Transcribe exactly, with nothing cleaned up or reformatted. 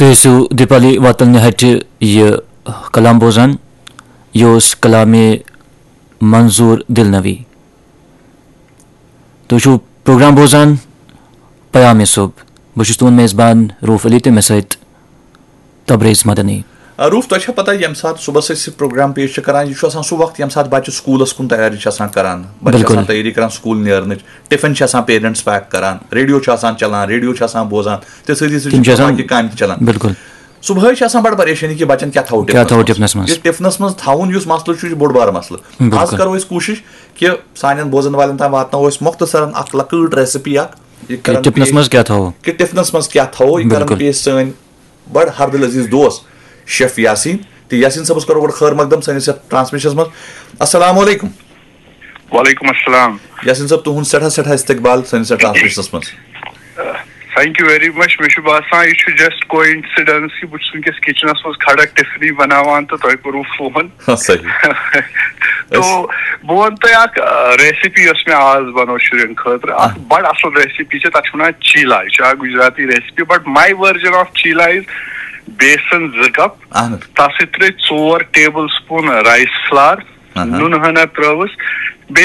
تُہۍ ٲسِو دیپالی واتلنہِ ہٹہِ یہِ کلام بوزان۔ یہِ اوس کلامِ منظور دلنوی۔ تُہۍ چھِو پروگرام بوزان پیام صبح۔ بہٕ چھُس تُہُنٛد میزبان روف علی تہٕ مےٚ سۭتۍ تبریز مدنی۔ آ، روف، تۄہہِ چھا پتہ، ییٚمہِ ساتہٕ صبحس أسۍ یہِ پروگرام پیش چھِ کران، یہِ چھُ آسان سُہ وقت ییٚمہِ ساتہٕ بچہِ سکوٗلس کُن تیٲری چھِ آسان کران، بچہِ چھِ آسان بِلکُل۔ تیٲری کران سکوٗل نیرنٕچ، ٹفن چھِ آسان پیرنٹس پیک کران، ریڈیو چھُ آسان چلان، ریڈیو چھِ آسان بوزان، تہٕ سۭتی سۭتی تِم چھِ چھِ آسان باقٕے کامہِ تہِ چلان۔ بِلکُل۔ صبحٲے چھِ آسان بڑٕ پریشٲنی کہِ بچن کیٛاہ تھاوو کیٛاہ تھاوو ٹفنس منٛز۔ ٹفنس منٛز؟ یہِ ٹفنس منٛز تھاوُن یُس مسلہٕ چھُ، یہِ چھُ بوٚڑ بار مسلہٕ۔ آز بِلکُل۔ کرو أسۍ کوٗشش کہِ سانٮ۪ن بوزن والٮ۪ن تام واتناوو أسۍ مختصرن اکھ لۄکٕٹ ریسپی اکھ۔ یہِ کرن ٹفنس پیش منٛز کیٛاہ تھاوو؟ کہِ ٹفنس منٛز کیٛاہ تھاوو، یہِ کرن بِلکُل۔ پیش سٲنۍ بڑٕ ہردل عزیز دوست شیف یاسین۔ تہٕ یاسین صٲبس کرو گۄڈٕ خٲر مقدم سٲنِس یتھ ٹرانسمیشنس منٛز۔ السلام علیکم۔ وعلیکم السلام۔ یاسین صٲب، تُہُنٛد سٮ۪ٹھاہ سٮ۪ٹھاہ استقبال سٲنِس یتھ ٹرانسمیشنس منٛز۔ Thank you very much۔ مےٚ چھُ باسان، یہِ چھُ just coincidence کہِ بہٕ چھُس وٕنکیٚس کچنس منٛز کھڑا ٹفنی بناوان تہٕ تۄہہِ کوٚروٕ فون۔ ہاں، صحیح۔ تو بہٕ وَنہٕ تۄہہِ اکھ ریسپی یۄس مےٚ آز بنٲو شُرٮ۪ن خٲطرٕ، اکھ بڑٕ اصل ریسپی چھِ، تتھ چھِ ونان چیلا۔ یہِ چھِ اکھ Gujarati recipe, but my version of chilla is بیسن زٕ کپ، اہن حظ۔ تتھ سۭتۍ ترٲے ژور ٹیبل سپون رایس فلار، اہن۔ نُنہٕ ہنا ترٲوٕس،